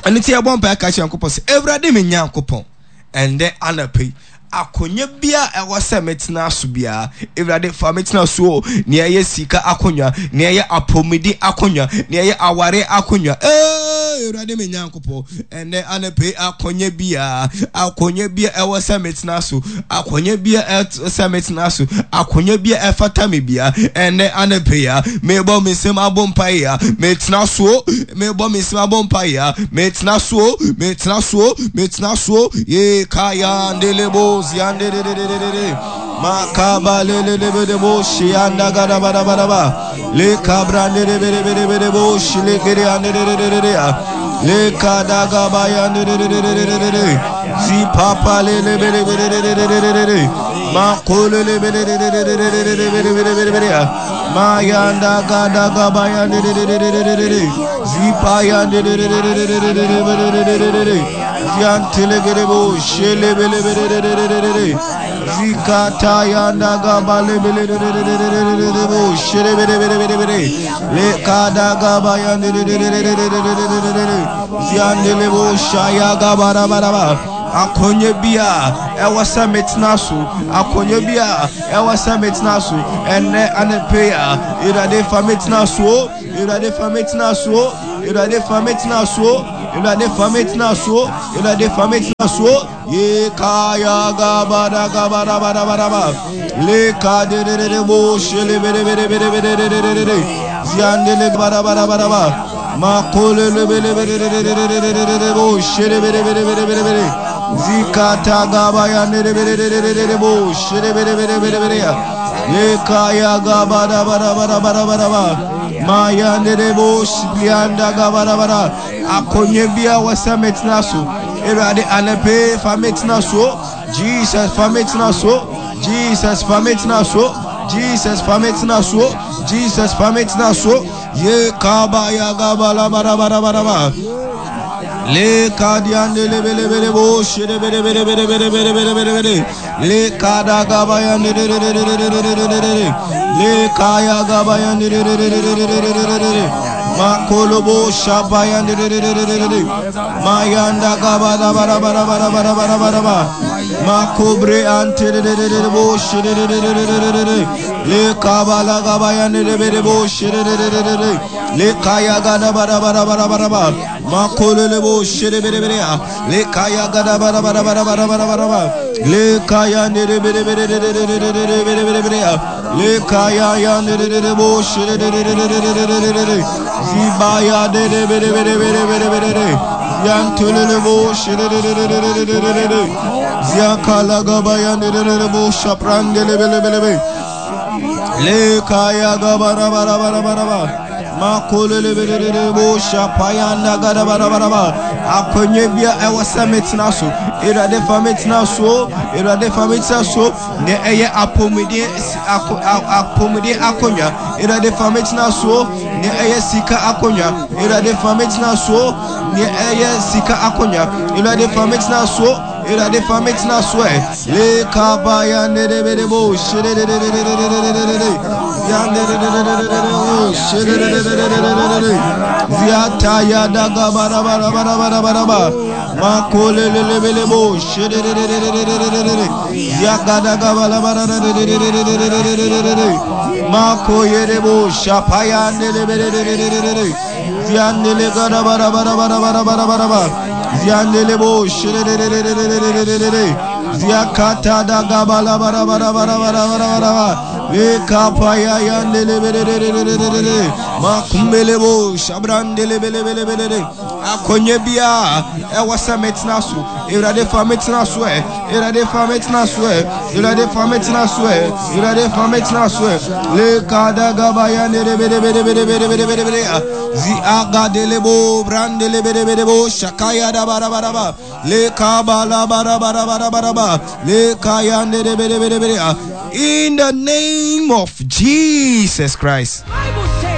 Ɛno nti yɛbɔ mpaeɛ ka kyerɛ Nyankopɔn sɛ, Awurade me Nyankopɔn, ɛndɛ anɔpa yi, akonnwa biara a ɛwɔ sɛ metena so biara, Awurade fa me tena so o, nea ɛyɛ sika akonnwa, nea ɛyɛ apɔmuden akonnwa, nea ɛyɛ awareɛ akonnwa, ee, Awurade me Nyankopɔn, ɛndɛ anɔpa yi akonnwa biara, akonnwa biara ɛwɔ sɛ metena so, akonnwa biara ɛwɔ sɛ metena so, akonnwa biara ɛfata me biara, ɛndɛ anɔpa yi a, mebɔ me nsam abɔ mpaeɛ a, metena so o, mebɔ me nsam abɔ mpaeɛ a, metena so o, metena so o, metena so o, ye kaya ndelebo ziandededededede, makaba lelelebedebo shianda gadabadabadaba, le kabrandedebedebedebo shilekede andedededede, le kadagabaya ndededededede, zipapa lelebedebededededede, makolelebededededededededededede, mayanda gadagabaya ndededededede, zipaya ndededededededededede, ziantelegerebo shelebelebededededede, zikatayanda gabalebelebededededebo shelebelebedebede, lekadagabaya ndededededededede, ziandelebo shayagabarabaraba. Akonnwa bi a ɛwɔ sɛ metena so, akonnwa bi a ɛwɔ sɛ metena so, ɛnnɛ anɔpa yi a, Awurade fa me tena so o, Awurade fa me tena so o, Awurade fa me tena so o, Awurade fa me tena so o, Awurade fa me tena so o. Ye kaya gabada gabada bada bada ba. Le ka de de de de bo shele bede bede bede bede de de de de de. Ziande le bada bada bada ba. Makole le bele bede de de de de de de de de bo shele bede bede bede bede bede. Zikata gabaya ne de bede de de de de de bo shele bede bede bede bede ya. Le kaya gabada bada bada bada bada ba. Maya ne de bo shiblianda gabada bada. Akonnwa bi a ɛwɔ sɛ metena so. Awurade anɔpa yi fa me tena so. Jesus fa me tena so. Jesus fa me tena so. Jesus fa me tena so. Jesus fa me tena so. Ye kaba ya gaba la bara bara bara ba. Le kadiande le bele bele bo shere bele bele bele bele bele bele bele bele. Le kada gaba ya ne de de de de de de de de de de. Le kaya gaba ya ne de de de de de de de de de de. Makolobo shabaya ne de de de de de de de. Mayanda gaba da bara bara bara bara bara bara ba. Makobre ante de de de de de bo shere de de de de de de de. Le kabala gaba ya ne de de bo shere de de de de de. Le kaya gada bara bara bara bara ba. Makolele bo shere bere bere ya. Le kaya gada bara bara bara bara bara bara ba. Le kaya ne de bere bere de de de de de de bere bere bere ya. Le kaya ya ne de de de bo shere de de de de de de de de de de. Zibaya de de bere bere bere bere bere de. Yantulele bo shere de de de de de de de de de. Ziakala gaba ya ne de de de bo shaprandele bele bele be. Le kaya gaba ra ba ra ba ra ba ra ba. Makolele bele de de bo shapayanda gada ba ra ba ra ba. Akonnwa bi a ɛwɔ sɛ metena so. Awurade fa metena so. Awurade fa metena so. Nea ɛyɛ apɔmuden apɔmuden akonnwa. Awurade fa metena so. Nea ɛyɛ sika akonnwa. Awurade fa metena so. Nea ɛyɛ sika akonnwa. Awurade fa metena so. Awurade fa metena so ɛ. Le kabaya ne de be de bo shere de de de de de de de de de. Zian de de de de de de de de o shere de de de de de de de de. Ziata ya da ga ba da ba da ba da ba da ba da ba. Makole le le be le bo shere de de de de de de de de de. Ziaga da ga ba la ba da da de de de de de de de de de de de de. Makoye de bo shapaya ne le be de de de de de de de. Ziandele ga da ba da ba da ba da ba da ba da ba da ba. Ziandele bo shere de de de de de de de de de de. Ziakata da ga ba la ba da ba da ba da ba da ba da ba da ba. Le kapaya yandele be de de de de de de de de. Makumbele bo shabrandele bele bele bele de. Akonnwa bi a ɛwɔ sɛ metena so. Awurade fa metena so ɛ. Awurade fa metena so ɛ. Awurade fa metena so ɛ. Awurade fa metena so ɛ. Le kada gaba yandele bele bele bele bele bele bele bele. Zi aga dele bo brandele bele bele bo shakaya da ba da ba da ba. Le kaba la ba da ba da ba da ba da ba. Le kaya ndele bele bele bele. In the name of Jesus Christ.